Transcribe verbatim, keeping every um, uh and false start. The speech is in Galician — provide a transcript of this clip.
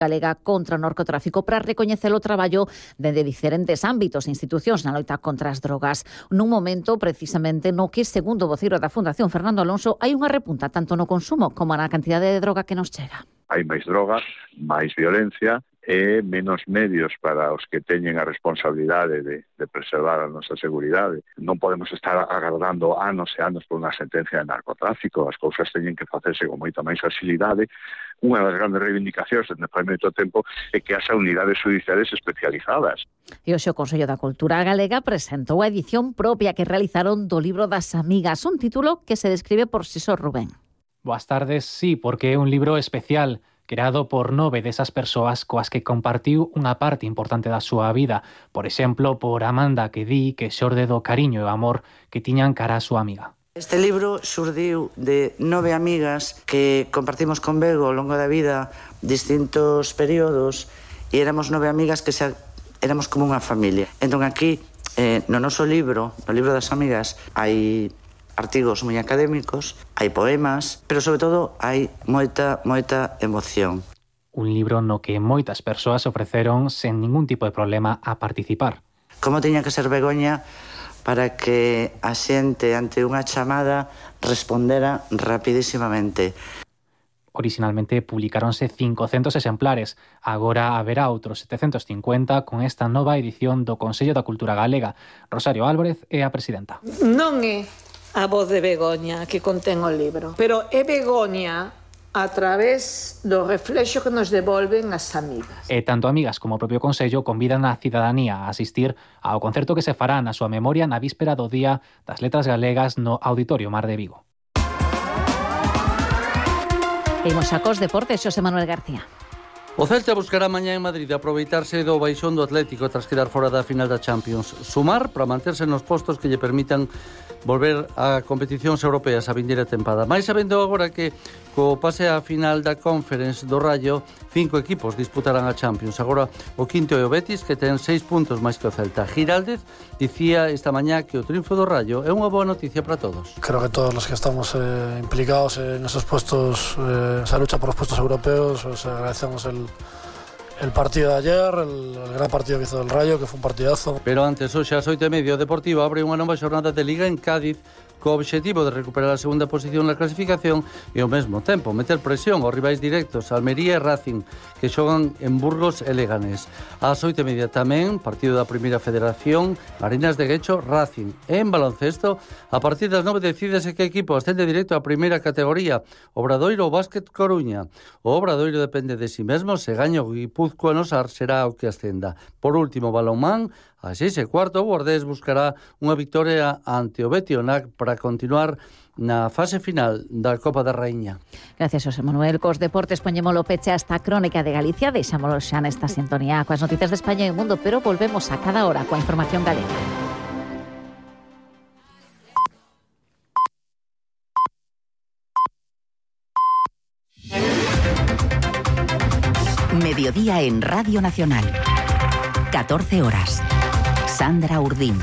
galega contra o narcotráfico para recoñecer o traballo dende diferentes ámbitos e institucións na loita contra as drogas. Nun momento, precisamente, no que, segundo o voceiro da Fundación Fernando Alonso, hai unha repunta tanto no consumo como na cantidade de droga que nos chega. Hai máis drogas, máis violencia e menos medios para os que teñen a responsabilidade de, de preservar a nosa seguridade. Non podemos estar agardando anos e anos por unha sentencia de narcotráfico. As cousas teñen que facerse con moita máis facilidade. Unha das grandes reivindicacións dende fai moito tempo é que haxa unidades judiciales especializadas. E hoxe o Consello da Cultura Galega presentou a edición propia que realizaron do libro das Amigas, un título que se describe por si só Rubén. Boas tardes, sí, porque é un libro especial, creado por nove desas persoas coas que compartiu unha parte importante da súa vida. Por exemplo, por Amanda, que di que xorde do cariño e o amor que tiñan cara a súa amiga. Este libro xurdiu de nove amigas que compartimos con Bego ao longo da vida distintos períodos e éramos nove amigas que xa éramos como unha familia. Entón aquí, eh, no noso libro, no libro das amigas, hai artigos moi académicos, hai poemas, pero sobre todo hai moita, moita emoción. Un libro no que moitas persoas ofreceron sen ningún tipo de problema a participar. Como tiña que ser Begoña para que a xente ante unha chamada respondera rapidísimamente. Originalmente publicáronse cincocentos exemplares, agora haberá outros setecentos cincuenta con esta nova edición do Consello da Cultura Galega. Rosario Álvarez é a presidenta. Non é a voz de Begoña que contén o libro, pero é Begoña a través do reflexo que nos devolven as amigas. E tanto amigas como o propio Consello convidan a cidadanía a asistir ao concerto que se fará na súa memoria na víspera do Día das Letras Galegas no Auditorio Mar de Vigo. Imos xa cos deportes, Xosé Manuel García. O Celta buscará mañá en Madrid aproveitarse do baixón do Atlético tras quedar fora da final da Champions. Sumar para manterse nos postos que lle permitan volver a competicións europeas a vindeira tempada. Mais sabendo agora que co pase á final da Conference do Rayo, cinco equipos disputarán a Champions. Agora o quinto é o Betis, que ten seis puntos máis que o Celta. Giraldez dicía esta mañá que o triunfo do Rayo é unha boa noticia para todos. Creo que todos los que estamos eh, implicados en esos puestos, eh, esa lucha por los puestos europeos, pues agradecemos el El partido de ayer, el, el gran partido que hizo el Rayo, que fue un partidazo. Pero antes, hoxe ás oito e media, o Deportivo abre unha nova xornada de Liga en Cádiz co obxectivo de recuperar a segunda posición na clasificación e ao mesmo tempo meter presión aos rivais directos Almería e Racing, que xogan en Burgos e Leganés. Ás oito e media tamén, partido da Primeira Federación, Marinas de Guecho, Racing. E en baloncesto, a partir das nove decídese que equipo ascende directo á primeira categoría, Obradoiro ou Básquet Coruña. O Obradoiro depende de si mesmo, se gaña o Guipúzcoa no Sar será o que ascenda. Por último, balonmán, a seis e cuarto, o Guardés buscará unha victoria ante o Betionac para continuar na fase final da Copa da Raíña. Gracias, José Manuel. Cos deportes poñémolo peche a esta crónica de Galicia, deixámolo xa nesta sintonía coas noticias de España e o mundo, pero volvemos a cada hora coa información galega. Mediodía en Radio Nacional. catorce horas. Sandra Urdín.